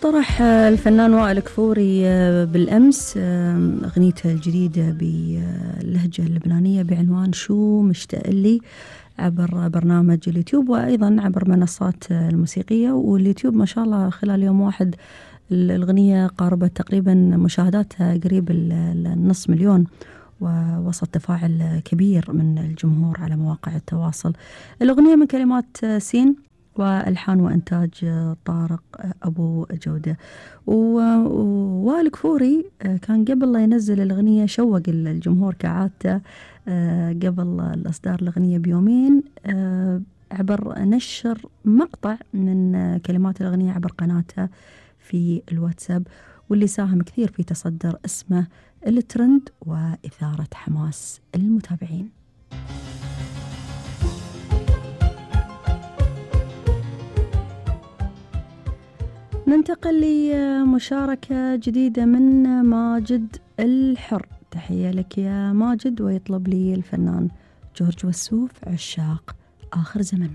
طرح الفنان وائل كفوري بالأمس أغنيته الجديدة باللهجة اللبنانية بعنوان شو مشتاق لي عبر برنامج اليوتيوب وأيضا عبر منصات الموسيقية. واليوتيوب ما شاء الله خلال يوم واحد الأغنية قاربت تقريبا مشاهداتها قريب النص مليون، ووسط تفاعل كبير من الجمهور على مواقع التواصل. الأغنية من كلمات سين والحان وانتاج طارق ابو جوده. ووائل كفوري كان قبل لا ينزل الاغنيه شوق الجمهور كعادته قبل الاصدار الاغنيه بيومين عبر نشر مقطع من كلمات الاغنيه عبر قناته في الواتساب، واللي ساهم كثير في تصدر اسمه الترند واثاره حماس المتابعين. ننتقل لمشاركة جديدة من ماجد الحر. تحية لك يا ماجد، ويطلب لي الفنان جورج وسوف عشاق آخر زمن.